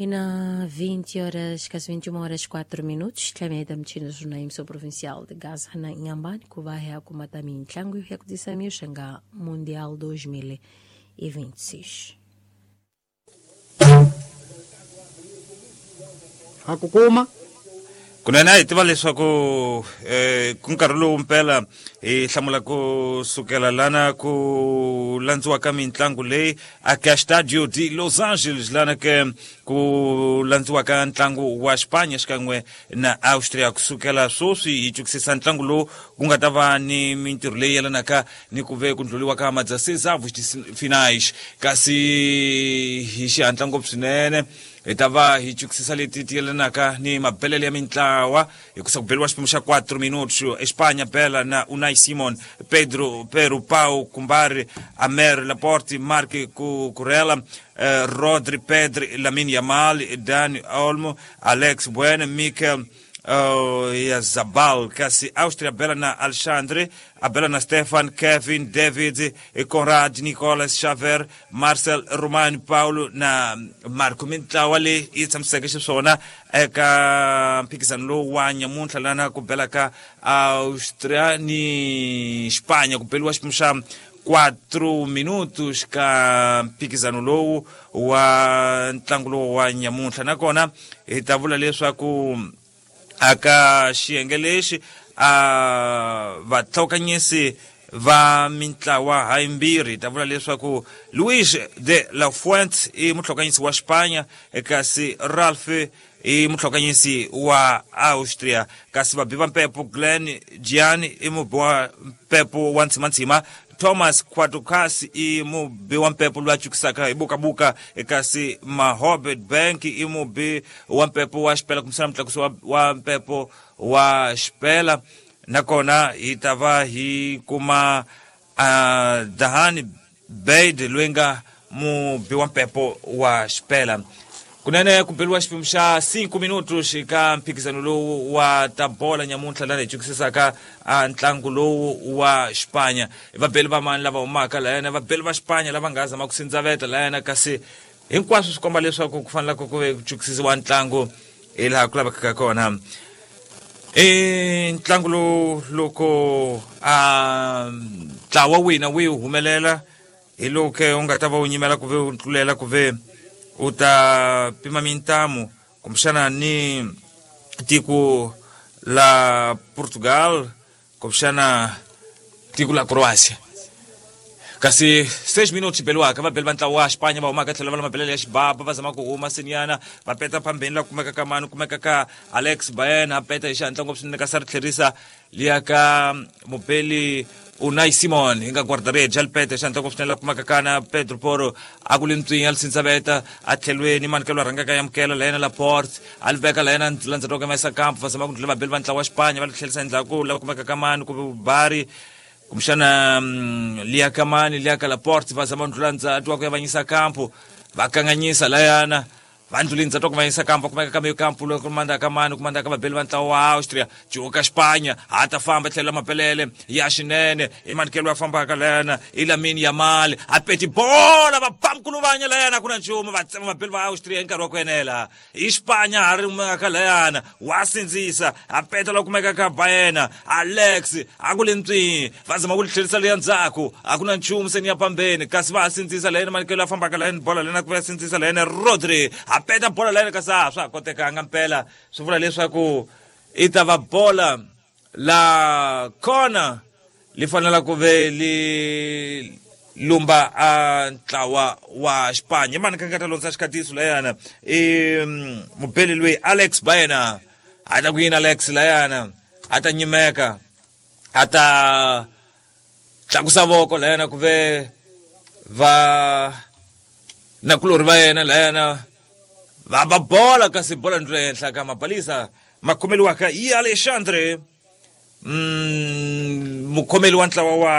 Ina 20 horas, quase 21 horas 4 minutos, tlameda mchina jornalismo provincial de Gaza na Inhambane, ku vai kumata mintlangu ya kutisa mioxanga Mundial 2026. Hakukuma Kunene a hi tiva leswaku ku nkarhi lowu mpela hi hlamula ku sukela lana ku landziwa ka mitlangu leyi aka Stadio de Los Angeles, lana ke ku landziwa ka ntlangu wa Xipanya xikan'we na Austria. Kusukela sweswi hi twisisa ntlangu lowu ku nga ta va ni mintirho leyi yelanaka ni ku ve ku ndlhuliwa ka madzasezavos finais, kasi hi xihatla ngopfu swinene hi ta va hi twisisa leti ti yelanaka ni mabelele ya mintlawa hikusa ku beliwa xiphemu xa 4 minutos. Espanya bela na Unai Simon, Pedro Peru, Pau Kumbari, Amer Laporte, Marc Cucurella, Rodri, Pedri, Lamine Yamal, Dani Olmo, Alex Bueno, Mikel Yazabal. Kasi Austria bela na Alexandre, abela na Stefan, Kevin, David, Conrad, Nicolas, Xaver, Marcel, Romano, Paulo na Marco. Mintlawa leyi yi tshamiseke xiswona eka mphikizano lowu wa nyamuntlha lana ku bela ka Austria ni Xipanya, ku beliwa xiphemu xa 4 minutos ka mphikizano lowu wa ntlangu lowu wa nyamuntlha. Nakona hi ta vula leswaku aka xiyenge lexi a vatlhokanyisi va mintlawa hayimbirhi, hi ta vula leswaku Luis de la Fuente i mutlhokanyisi wa Xipanya, kasi Ralph i mutlhokanyisi wa Austria, kasi vabi va mpepo Glenn Gian i mubi wa mpepo wa ntsimantsima, Thomas Quatucas i mubi wa mpepo loyi a cukisaka hi bukabuka, kasi Mahobet Bank i mubi wa mpepo wa xipela, kumbisana mutlakusi wa mpepo wa xipela. Nakona hi ta va hi kuma Dahani Baid loyi nga mubi wa mpepo wa xipela. Kunene ku beliwa xiphemu xa 5 minutos ka mphikizano lowu wa ta bola nyamuntlha lana hi twisisaka ntlangu lowu wa Xipanya. Vabeli va mani lava humaka layana? Vabeli va Xipanya lava nga zama ku sindzaveta layana, kasi hinkwaswo swi komba leswaku ku fanele ku ve ku twisisiwa ntlangu hi laha ku lavekaka kona. I ntlangu lowu loko a ntlawa wina wi humelela, hi lowu ke u nga ta va u nyimela ku ve u tlulela ku ve u ta pima mintamu kumbexana ni tiko la Portugal, kumbexana tiko la Croatia. Kasi 6 minutos beliwaka, vabeli va ntlawa wa Xipanya va humaka tlhelo va la mabelele ya xibaba, va zama ku huma senyana, va peta phambeni la kumeka ka mani? Kumeka ka Alex Baena, a peta hi xihatla ngopfu swinene, kasi a ri tlherisa liya ka mubeli Unai Simon hi nga guardarede, a li peta hi xihatla ngopfu swinene la kumeka ka na Pedro Poro, a ku li ntswinya, li sindzaveta a tlhelweni mani ke lwa rhangaka yamukela la yena Laporte, a li veka la yena landzeriwaka maisa kampo, va zama ku ndlula vabeli va ntlawa wa Xipanya, va li tlherisa endzhaku la kumeka ka mani? Ku bari kumbexana liya ka mani? Liya ka Laporte, va zama ndlula ndzati wa ku yavanyisa kampo, va kanganyisa layana, va ndluli ndzati wa ku vanyisa kampo, kumeka ka meyo kampo loko kumanda ka mani? Kumanda ka vabeli va ntlawa wa Austria. Cuka Xipanya ha ta famba tlhela mapelele ya xinene, i manikelo ya fambaka layana, i Lamine Yamal, a peti bola, va bamkuluvanya layana, ku na nchumu, va tsema vabeli va Austria hi nkarhi wa ku enela. I Xipanya ha ri kumeka layana, wa sindzisa, a peta la kumeka ka Baena Alex, a ku le ntswini, va zama ku li tlherisa leya ndzhaku, a ku na nchumu seni ya pambeni, kasi va ha sindzisa layena manikelo ya fambaka layeni bola lena ku ya sindzisa layena Rodri, a peta bola layena, kasi a swa ha kotekanga mpela. Swi vula leswaku i ta va bola la kona li fanela ku ve li lumba a ntlawa wa Xipanya. I mani ka nga ta lonsa xikhatiso layana? I mubeli loyi Alex Baena, a ta ku yini Alex layana? A ta nyimeka, a ta tlakusa voko layana ku ve va nakulorhi va yena layana va ba bola, kasi bola ndlula henhla ka mabalisa makhomeliwaka yi Alexandre, mukhomeli wa ntlawa wa